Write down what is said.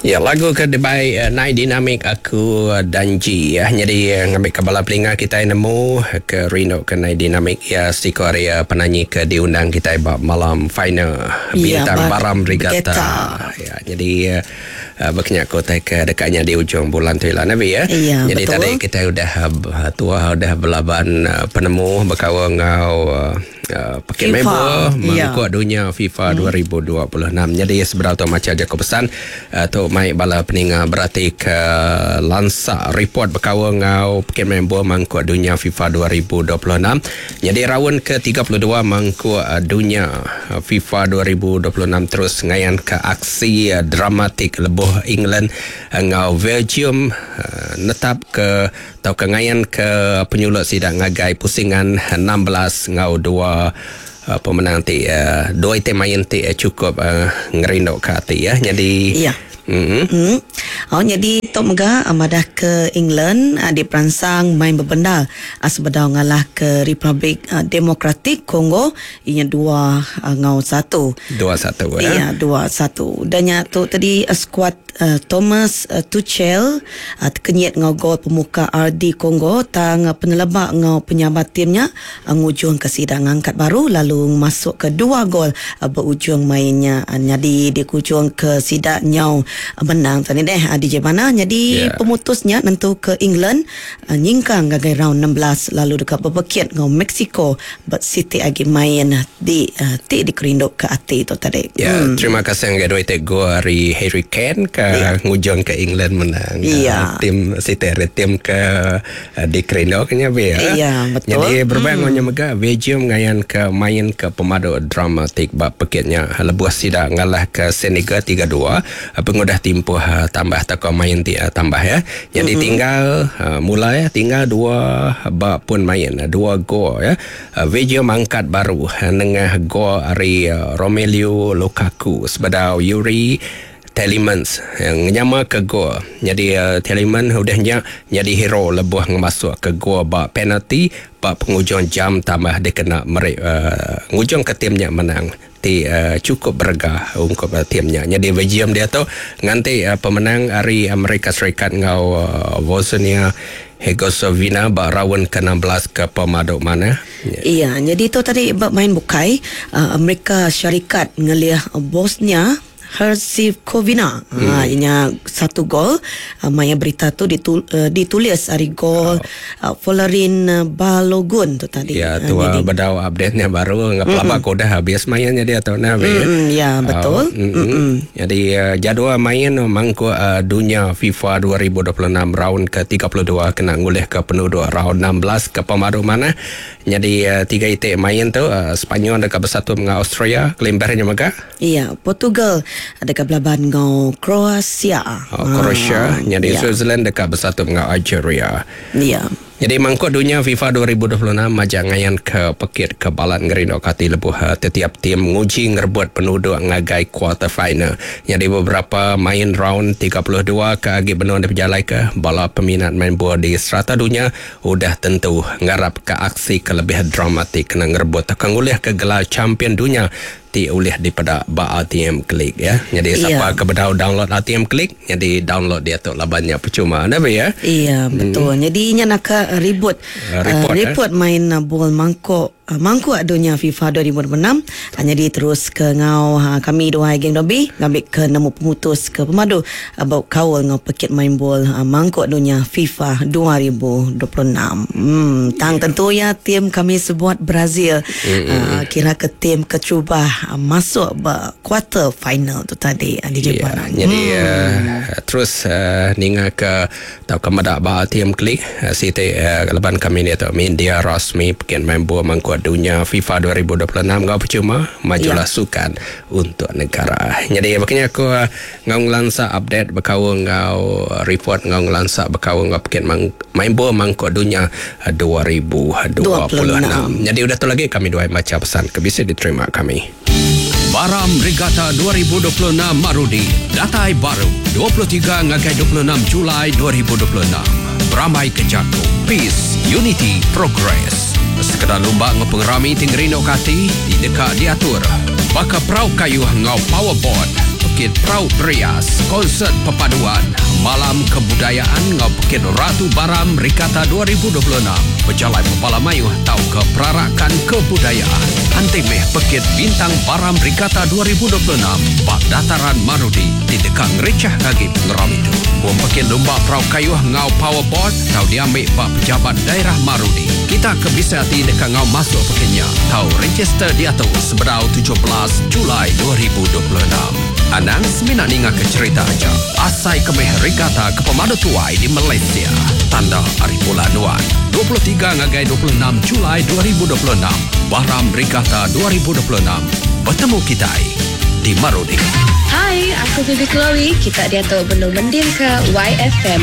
Ya lagu ke dibai nai dinamik aku danji ya. Nyadi ngambika bala pelinga kitai nemu ke rindu ke nai dinamik iya siku ari penanyi ke diundang kitai ba malam final Ya, Bintang bar Baram Regatta. Geta. Ya nyadi baka nya ku utai ke deka nyadi ujung bulan tu ila ne bi ya. Ya, Jadi betul. tadi kitai udah tua udah belaban penemu bekaul enggau Pekit FIFA. Mebel Ya. mangkuk dunya FIFA 2026. Nyadi sebedau tu macha jaku pesan tu mai bala peninga berati ke lansa report bekaul enggau Pekit Mebel mangkuk dunya FIFA 2026. Nyadi raun ke 32 mangkuk dunya FIFA 2026 terus ngayanka aksi dramatik lebuh England enggau Belgium netap ke tauka ngayanka penyulut sida ngagai pusingan 16 enggau dua pemenang ti dua iti main ti chukup ngerinduka ati ya. Nyadi Iya. Mm. Oh, nyadi tu mega madah ke England diperansang main bebendar sebedau ngalah ke Republik Demokratik Congo inya dua enggau satu. 2-1 ya. Iya, 2-1. Udah nya tu tadi skuad Thomas Tuchel tekenyit enggau gol pemuka RD Congo tang peneleba enggau penyabar tim nya ngujungka sida ngangkat baru lalu ngemasukka dua gol ba ujung main nya nyadi dikujungka sida nyau menang tadi deh DJ Bana nyadi pemutus nya nentuka England nyingkang ngagai round 16 lalu deka bepekit enggau Mexico ba siti agi main di ti dikerinduka ati tu tadi. Ya, terima kasih ngagai dua iti gol ari Harry Kane ke ngujung ke England menang. Tim siti ari tim ke dikerinduka nya be. Ya, betul. Nyadi berebak enggau nya mega Belgium ngayanka main ke pemadu dramatik ba pekit nya lebuh sida ngalahka Senegal 3-2 pengudah timpuh tambah tauka main ti tambah ya. Nyadi tinggal mula ya tinggal dua ba pun main dua gol ya. Belgium angkat baru nengah gol ari Romelu Lukaku sebedau Yuri Tielemans ngenyamaka gol. Nyadi Tielemans udah nya nyadi hero lebuh ngemasukka gol ba penalti ba pengujung jam tambah dikena meri ngujungka tim nya menang ti chukup berega ungkup tim nya. Nyadi Belgium diatu nganti pemenang ari Amerika Serikat enggau Bosnia Herzegovina ba raun ke 16 ke pemadu manah. Iya, nyadi tu tadi ba main bukai, Amerika Syarikat ngelih Bosnia Herzegovina hmm. Inya satu gol maya berita tu ditul, ditulis ari gol oh. Folarin Balogun tu tadi. Ya, tu uh, bedau update-nya baru ngap lama mm. udah habis mainnya dia tu nah. Mm, ya, betul. Mm, mm. Jadi jadual main mangkuk dunia FIFA 2026 round ke-32 kena ngulih ke penduduk round 16 ke pemadu mana. Nyadi tiga iti main tu Sepanyol deka besatu enggau Austria, kelimbarnya mega. Iya, Portugal deka belaban enggau Kroasia. Oh, Croatia, nyadi Switzerland deka besatu enggau Algeria. Iya. Nyadi mangkuk dunya FIFA 2026 majak ngayanka pekit ke balat ngerinduka ati lebuh tetiap tim nguji ngerebut penuduk ngagai quarter final. Nyadi beberapa main round 32 ke agi benung dipejalaika, bala peminat main bol di serata dunya udah tentu ngarapka aksi ke lebih dramatik kena ngerebut tauka ngulihka gelar champion dunya ti ulih dipeda ba RTM Click ya. Nyadi sapa ke bedau download RTM Click, nyadi download diatu laban nya percuma enda be ya. Iya betul. Nyadi nya naka ribut report, report main bol mangkuk mangkuk dunya FIFA 2026. Nyadi terus ke enggau kami duai geng Dobi ngambi ke nemu pemutus ke pemadu ba kaul enggau pekit main bol mangkuk dunya FIFA 2026. Em tang tentu iya tim kami sebuat Brazil kira ke tim keterubah masuk ba quarter final tu tadi DJ Ya, Barang. jadi terus ninga ke tauka meda ba RTM Click siti laban kami diatu media rasmi pekit main bol mangkuk dunya FIFA 2026 enggau percuma majulah sukan untuk negara. Jadi baka nya aku enggau ngelansa update bekaul enggau report enggau ngelansa bekaul enggau pekit main bol mangkuk dunya 2026. Jadi udah tu lagi kami duai macha pesan ke bisi diterima kami. Baram Regatta 2026 Marudi datai baru 23 ngagai 26 Julai 2026. Berambai ke jaku Peace, Unity, Progress. Sekeda lumba enggau pengerami ti ngerinduka ati ti deka diatur baka perau kayuh enggau powerboat. Pekit Perau Berias, Konsert Perpaduan, Malam Kebudayaan enggau Pekit Ratu Baram Regatta 2026, Pejalai Bebala Mayuh tauka Perarakan Kebudayaan. Anti meh Pekit Bintang Baram Regatta 2026 ba Dataran Marudi ti deka ngerichah agi pengerami tu. Pom pekit lumba perau kayuh enggau powerboat tau diambi ba Pejabat Daerah Marudi. Kita ke bisi ati deka enggau masuk pekit nya tau register diatu sebedau 17 Julai 2026. Anang semina ningaka cherita aja, asai ke meh regata ke pemadu tuai di Malaysia. Tanda ari bulan nuan, 23 ngagai 26 Julai 2026, Baram Regata 2026, betemu kitai di Marudi. Hai, aku Bibi Chloe. Kita diatu benung mendingka YFM.